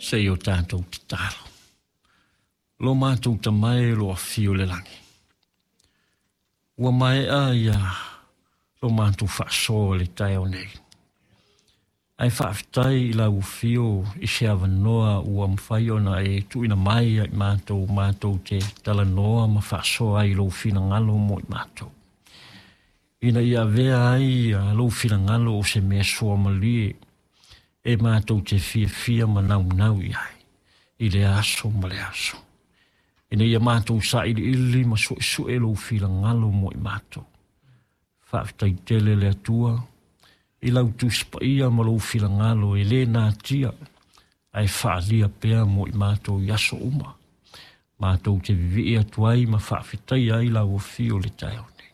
Se i o tatou tatalo. Lo matou Tama e o lo o afio i le lagi, ua maea ia lo matou faasoa i le taeao nei. Ae faafetai i lau afio i se avanoa ua mafai ona e tuuina mai ia i matou, matou te talanoa ma faasoa ai i lou finagalo mo i matou. Ina ia avea ai lou finagalo o se mea suamalie e matou te fiafia ma naunau i ai i le aso ma le aso. Ina ia matou sailiili ma suesue lou finagalo mo i matou. Faafetai tele le Atua i lau Tusi Paia ma lou finagalo e le natia ae faaalia pea mo i matou i aso uma. Matou te vivii atu ai ma faafetaia ai lau afio i le taeao nei.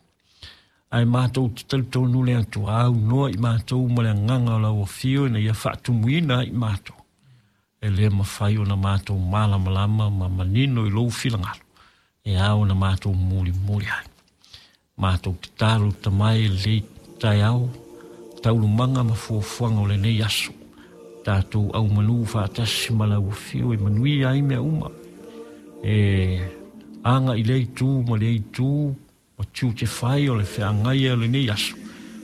Ae matou te talitonu le Atua aunoa i matou ma le agaga o lau afio ina ia faatumuina ai i matou. E le mafai ona matou malamalama ma manino i lou finagalo e ao ona matou mulimuli ai. Matou tatalo Tama e lenei taeao, taualumaga ma fuafuaga o lenei aso, tatou aumanū faatasi ma lau afio e manuia ai mea uma. E aga i lea itu ma lea itu ma tiute fai o le feagai o lenei aso,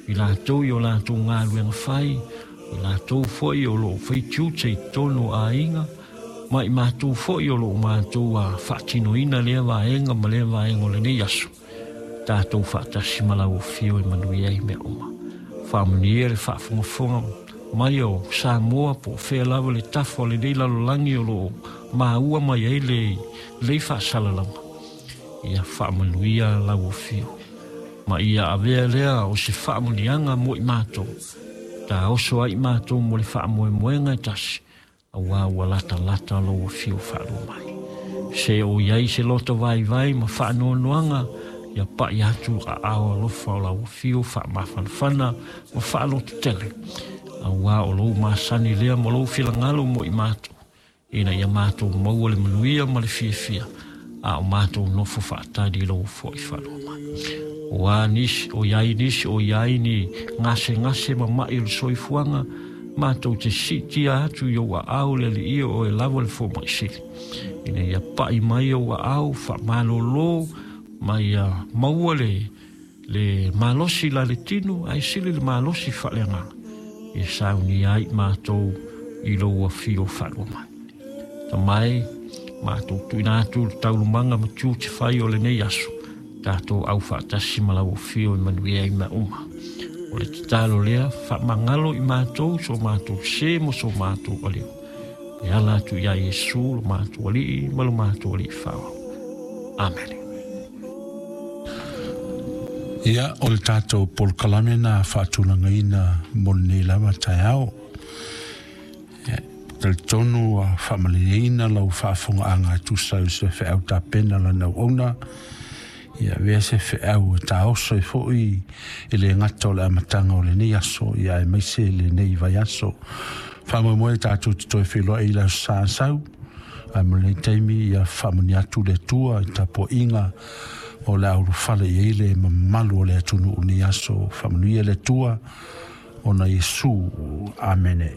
i latou i o latou galuega fai, i latou foi o lo o fai tiute i totonu o aiga, ma i matou foi o lo o matou faatinoina lea vaega ma lea vaega o lenei aso, tatou faatasi ma lau afio e manuia ai mea uma. Faamanuia le faafogafoga mai o Samoa po o fea lava le tafa o lenei lalolagi o lo o maua mai ai lenei faasalalauga. Ia faamanuia lau afio ma ia avea lea o se faamanuiaga mo i matou, taoso ai i matou mo le faamoemoega e tasi, aua ua latalata lou afio faalua mai. Se o i ai se loto vaivai ma faanoanoaga, ia pai atu aao alofa o lau afio faamafanafana ma faalototele, aua o lou masani lea ma lou finagalo mo i matou, ina ia matou maua le manuia ma le fiafia, a o matou nofo faatali i lou fo'i faalua mai. O a nisi, o i ai nisi, o i ai ni gasegase ma ma'i o le soifuaga, matou te siitia atu i ou aao le Alii o oe lava le fomai sili, ina ia pa'i mai ou aao faamalōlō ma ia maua le le malosi la le tino ae sili le malosi faaleagaga, ia saunia ai i matou i lou afio faalua mai. Tama e, matou tuuina atu le taualumaga ma tiute fai o lenei aso, tatou au faatasi ma lau afio e manuia ai mea uma. O le tatalo lea, faamagalo i matou so matou sē ma so matou alio. E ala atu iā Iesu lo matou Alii ma lo matou Alii Faaola. Amene. Ia, o le tatou polokalame na faatulagaina mo lenei lava taeao. E talitonu ua faamalieina lau faafogaaga e tusa ai o se feau tapena lana auauna. Ia avea se feau e taoso ai foi e le gata o le amataga o lenei aso, ia aemaise lenei vaiaso. Faamoemoe tatou te toe feiloai i le Aso Sa sau, ae mo lenei taimi ia faamanuia atu le Atua i tapuaiga o le a ulufale i ai le mamalu o le atunuu i lenei aso. Faamanuia le Atua ona Iesu. Amene.